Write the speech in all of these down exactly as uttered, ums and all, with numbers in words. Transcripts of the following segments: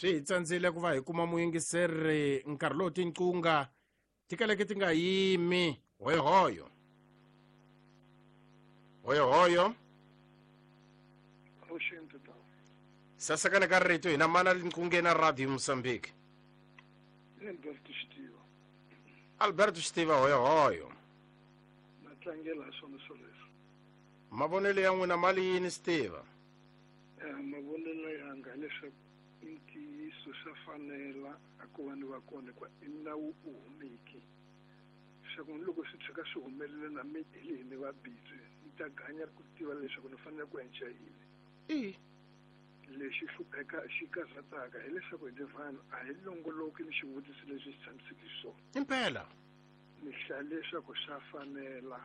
Swi hi tsandzile ku va hi kuma muyingiseri nkarhi lowu tinqunga ti kaleke ti nga yimi. Hoyohoyo. Hoyohoyo. Sasekana ka rito hina mana linqungeni na Radio Mozambique. Alberto Xitiva. Alberto Xitiva hoyohoyo. Na tlangela swona swoleswo. Mavonelo ya n'wina mali yini Xitiva? Eh mavonelo yanga leswaku i ntiyiso swa fanela a ku va ni va kona kwa i nawu u humeki. Swa ku loko swi tshuka swi humelela na mi hi ni va busy ni ta ganya ku tiva leswaku ni fanele ku endla yini. I lexi hlupheka xi karhataka hileswaku hi vanhu a hi longoloki ni xivutiso lexi xi tshamiseke xiswona. Impela ni hlaya leswaku swa fanela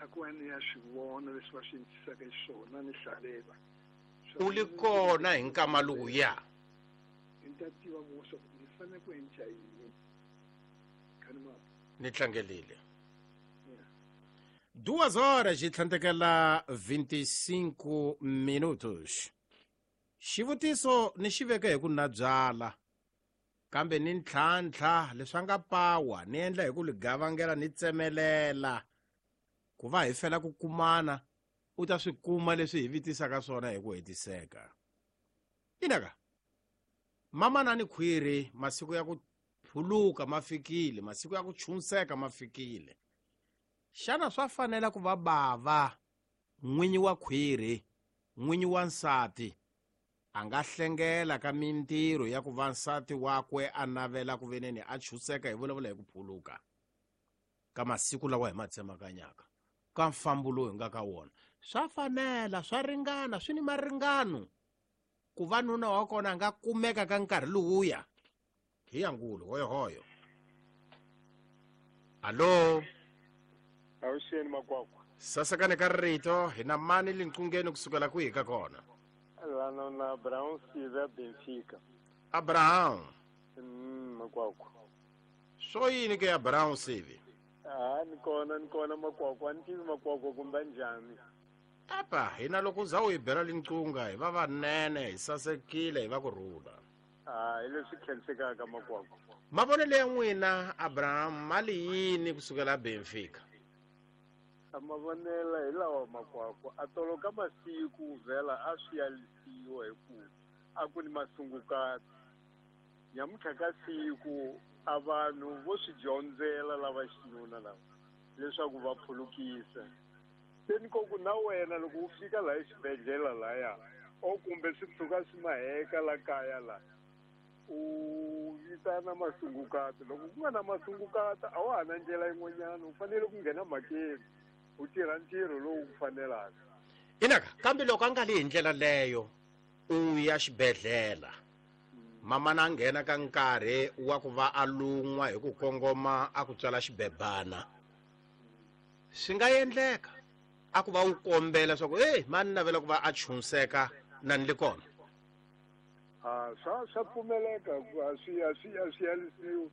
a ku va ni ya swi vona leswi va swi endlisaka xiswona ni hlalela. U li kona hi nkama lowuya. Ni ta tiva ku leswaku ni fanele ku endla yini. Ni tlangelile. Duas horas e tlhandlekela vinte e cinco minutos. Xivutiso ni xi veka hi ku na byala kambe ni ntlhantlha leswi nga pawa ni endla hi ku li gavangela ni tsemelela ku va hi fela ku kumana u ta swi kuma leswi hi vitisaka swona hi ku hetiseka. Inaka mama na ni khwiri masiku ya ku phuluka ma fikile, masiku ya ku chunseka ma fikile. Xana swa fanela ku va bava n'winyi wa khwiri n'winyi wa nsati a nga hlengela ka mintirho ya ku va nsati wakwe a navela ku veneni a chuseka hi vulavula hi ku phuluka ka masiku lawa hi ma tsemakanyaka ka mfambo lowu hi nga ka wona? Swa fanela, swa ringana, swi ni maringano ku va nuna wa kona a nga kumeka ka nkarhi lowuya. Hi yangulo hoyohoyo. Alo. Awuxeni makwakwa. Sasekane ka rito hi na mani linqungeni kusukela kwihi ka kona? Lana na Abraham Siva Benfica. Abraham. Mm, makwakwa. Swo yini ke Abraham Sivi? Ah, ni kona ni kona makwakwa, ni tivi makwakwa kumbe njhani. Apa, hina loko za u hi bela linqunga hi va vanene, hi sasekile, hi va ku rhula. Ah, hi leswi khensekaka makwakwa. Mavonelo ya n'wina Abraham mali yini kusukela Benfica? Mavonelo hi lawa makwakwa a toloka masiku vhela a swi yalisiwa hi ku a ku ni masungukati. Nyamuntlha ka siku a vanhu vo swi dyondzela lava xinuna lava leswaku va phulukisa. Se ni ko ku na wena loko u fika laha exibedhlele laya o kumbe swi tshuka swi maheka la kaya la u vitana masungukati. Loko ku nga na masungukati a wa ha na ndlela yin'wanyana, u fanele ku nghena mhakeni u tirha ntirho lowu ku fanelaka. Inaka kambe loko a nga li hi ndlela leyo u ya xibedhlele mama na nghena ka nkarhi wa ku va a lun'wa hi ku kongoma a ku tswala xibebana, swi nga endleka a ku va u kombela swa ku hey mani navela ku va a chunseka na ni le kona? Ah, swa swa pfumeleka a swi a swi a swi yalisiwi.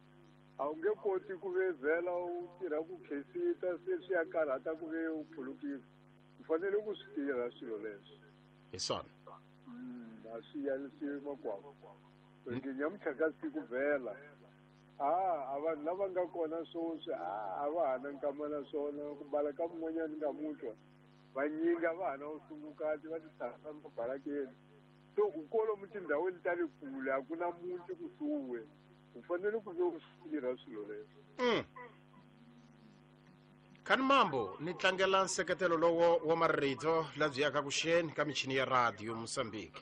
A wu nge koti ku ve vhela u tirha ku khensita se swi ya karhata ku ve u phulukisa. U fanele ku swi tirha swilo leswi. Hi swona. A swi yalisiwi makwakwa. Nyamuntlha ka siku vhela ah a vanhu lava nga kona sweswi a va ha na nkama na swona ku bala ka mun'wanyana nga vanyingi a va ha na vusungukati va ti tshama mabalakeni. So ku kwalomu tindhawini ta le kule a ku na muti kusuhi, u fanele ku ve u swi tirha swilo leswi. Mm. Khani mambo ni tlangela nseketelo lowo wa marito labyi yaka kuxeni ka michini ya Radio Mozambique.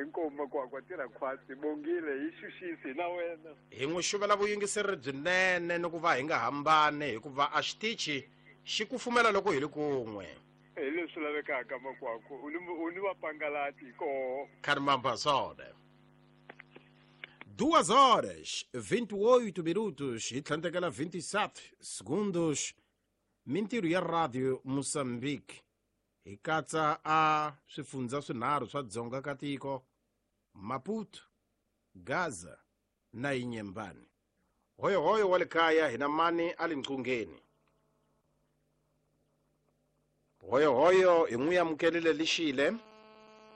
Inkomu makwakwa tirha khwatsi bongile hi xuxisi na wena. Hi n'wi xuvela vuyingiseri byinene ni ku va hi nga hambani hikuva a xitichi xi kufumela loko hi ri kun'we. Hi leswi lavekaka makwakwa u ni u ni vapangalati koho. Khani mambo swona. Duas horas vinte e oito minutos hi tlhandlekela vinte e sete segundos. Mintirho ya Radio Mozambique hi katsa a swifundza swinharhu swa dzonga ka tiko, Maputo, Gaza na Inhambane. Hoyohoyo wa le kaya hina mani a le nqungeni. Hoyohoyo hi n'wi amukelile lixile.